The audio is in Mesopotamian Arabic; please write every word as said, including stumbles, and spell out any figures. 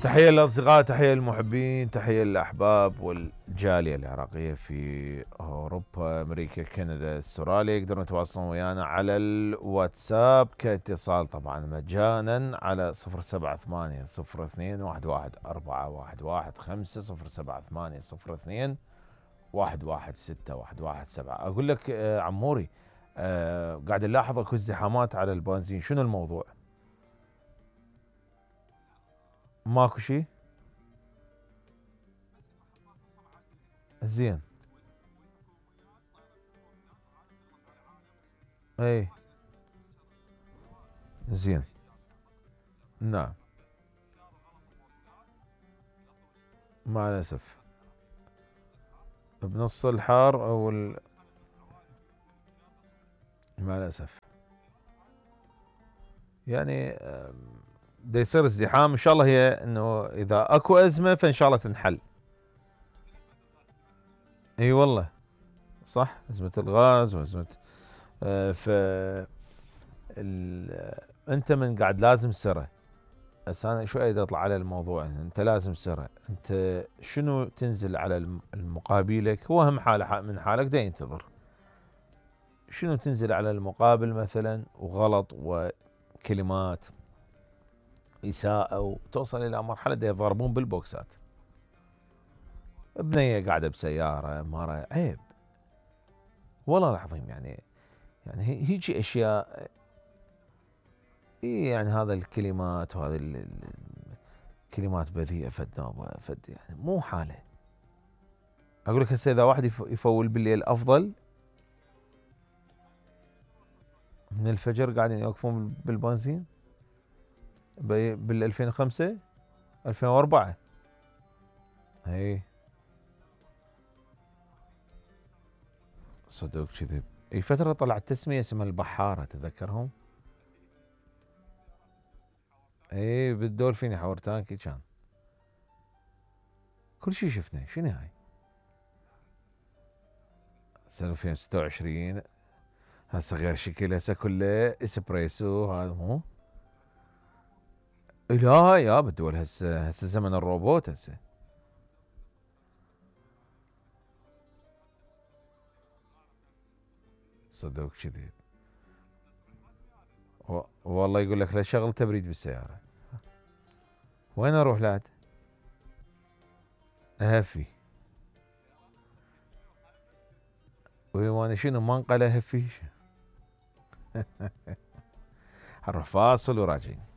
تحية للأصدقاء، تحية للمحبين، تحية للأحباب والجالية العراقية في أوروبا، أمريكا، كندا، استراليا. يقدرون يتواصلون ويانا على الواتساب كاتصال طبعا مجانا على صفر سبعة ثمانية صفر اثنين واحد واحد أربعة واحد واحد خمسة صفر سبعة ثمانية صفر اثنين واحد واحد ستة واحد واحد سبعة. أقول لك آه عموري، آه قاعد نلاحظ اكو ازدحامات على البنزين، شنو الموضوع؟ ماكو شيء؟ زين. اي زين. نعم. مع الأسف بنص الحار او ال... مع الأسف يعني دا يصير ازدحام. ان شاء الله هي انه اذا اكو ازمة فان شاء الله تنحل. اي والله صح، ازمة الغاز وازمة آه ف ال... انت من قاعد لازم سرة. بس انا شوي اطلع على الموضوع، انت لازم سرة، انت شنو تنزل على المقابلك؟ هو هم حاله من حالك دا ينتظر، شنو تنزل على المقابل مثلا وغلط وكلمات إساءة وتوصل إلى مرحلة دا يضربون بالبوكسات. بنية قاعدة بسيارة، مرة، عيب والله العظيم. يعني يعني هيجي أشياء، إيه يعني هذا الكلمات وهذه الكلمات بذيئة فد فد يعني مو حالة. أقول لك هسه إذا واحد يفول بالليل أفضل من الفجر قاعدين يوقفون بالبنزين بال ألفين وخمسة ألفين وأربعة. اي صدق كذب. اي فترة طلعت تسمية اسمها البحارة، تذكرهم؟ اي بالدولفين يحور تانكي كان كل شيء شفنا. شنو هاي سنة ألفين وستة وعشرين؟ هسه غير شكل، هسه كله اسبريسو. هذا مو لا يا بالدول هسه هسه زمن الروبوت هسه. صدق كذب. والله يقول لك لا شغل تبريد بالسيارة. وين اروح لعد؟ اهفي. وانا شنو ما انقل اهفي. هنروح فاصل وراجعين.